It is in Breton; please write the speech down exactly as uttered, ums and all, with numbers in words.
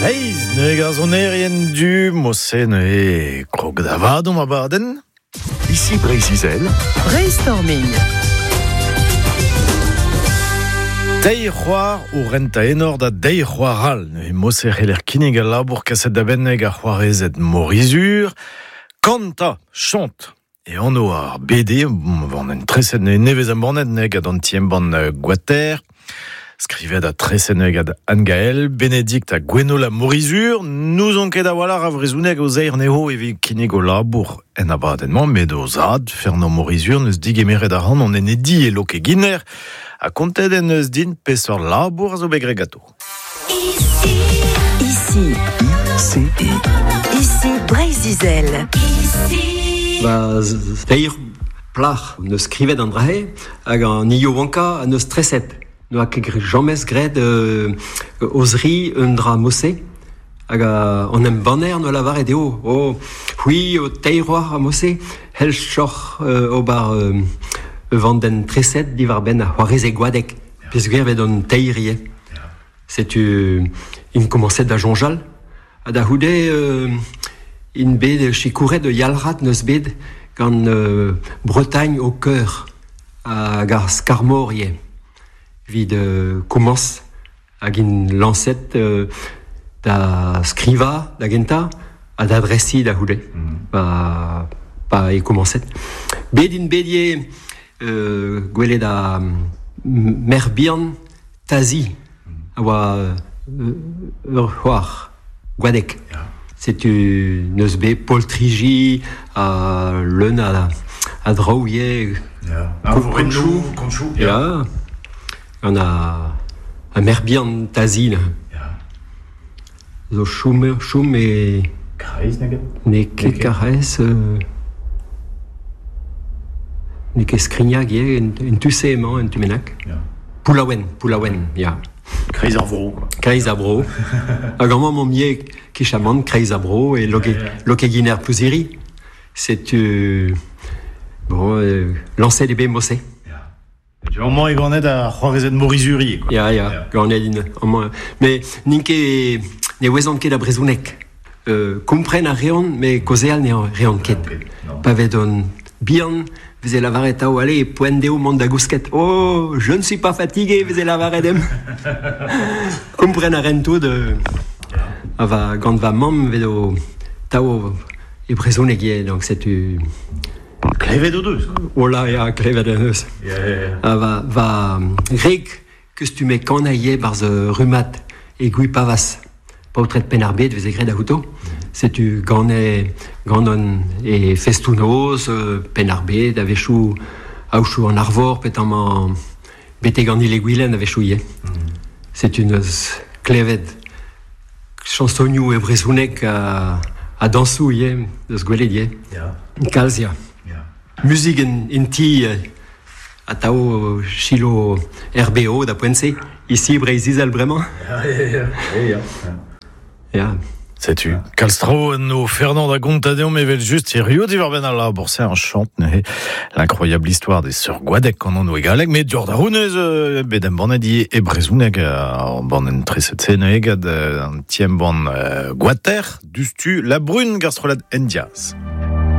Seiz neuze ar sonerien du Mose neuze krog da vadom abadenn. Ici Breizh-Izel. Brainstorming. Teir c'hoar o renta enor da deir c'hoar all. Neuze Mose c'heller kinnig al labour kaset da benneg ar c'hoarezed Morizur. Kanta, chante. E anv ar B D, van en treset nevez embannet neg ad an ti embann Gwater. Skrivet a treset neg ad Anne-Gaël, Bénédicte a Gwenola Morizur. Nous on ket a-walc'h a vrezhoneg o zeir neho evit kinnig o labour en abadenn-mañ, met o zad, Fernand Morizur, neus digemeret a ran an enedi e Lokeginer, a kontet en eus din peseurt labour a zo bet graet ganto. Ici, Ici, I C I. Ici Breizh-Izel. Ici. Ba, teir plac'h neus skrivet an drahe hag an iowanka a neus treset. Noa ket jamez graet euh, ozri un dra mose hag an embanner no lavaret eo. O, c'hwi o teir oar a mose, hel choc'h euh, ober euh, vanden treset diwar benn a c'hoareze gwadek. Peogwir vet an teir ivez. Setu in komañset da soñjal. Ha da c'houde euh, in bet sikouret de yalc'had neus bet gant euh, Bretagne au cœur hag ar skarmor ivez. Evit euh, komañs hag in lañset euh, da skriva da gentañ ha da dresiñ da c'houde. Mm. Pa, pa e komañset. Bet in bet ivez euh, gwelet a mer bihan Tazi a oa euh, ur c'hoar gwadek. Ya. Setu neus bet poltriji a leun a, a draoù ivez. Ya. Konchou. Konchou, Ya. Gant a, a mer bihan Tazi neuze. Ya. Zo choum, choum e... Karaez nag? N'eo ket N'eo ket. Karaez... Euh, n'eo ket Skrignag ivez, en, en tu-se emañ, en tu bennak. Ya. Poulaouen, Poulaouen, ya. Kreiz ar vro, quoi. Kreiz ar vro. Hag amañ m'omp ivez kichamant, Kreiz ar vro, e Loke, Ya, ya. Lokeginer Plouziri. Setu... Bon, euh, lañset eo bet mose. Ya. Tu amañ e ganet ar c'hoarezed Morizuri, quoi. Ya, ya, Ya. ganet in amañ. Mais n'int ket, ne ouezont ket a brezhoneg. Euh, kompren a reont, mais kaozeal ne reont ket. Non. Pa vet on bihan, veze lavaret ao, allez, poent dezho mont da gousket. Oh, je ne suis pas fatigué, veze lavaret em. Kompren a rent tout euh, a va, gant va mamm vet o tao e brezhoneg ivez, donc setu... Klevet o deus, quoi. Ola, ya, klevet o deus. Ya, ya, ya. A va, va reg kustume kana ivez barzh rumat e Gwipavaz. Paotred Penn-ar-Bed veze graet a-outo. Setu gant gant an e festoù-noz, euh, Penn-ar-Bed, a-wechoù aochoù an Arvor, pet amañ betek an Ille-Gwilen a-wechoù ivez. Setu neus klevet chansonioù e brezhoneg a, a dañsoù ivez, deus gwelet ivez. Ya. Kalz, ya. Ya. Muzik en, en ti euh, atao chilo R B O da poent-se, ici Breizh-Izel bremañ. Ya, ya, ya. Ya, ya. Ya. Setu, kalz traoù no Fernand a gonta deomp evel just hirio diwar benn al labour, c'est un chant, neuze. L'incroyable histoire des sœurs Gwadek an anv e galleg, met dior da rounez, euh, bet embannet ivez e brezhoneg, euh, an bann treset se neuze gant, euh, an ti embann, euh, Gwater, dustu, la brune gastrolad Endiaz.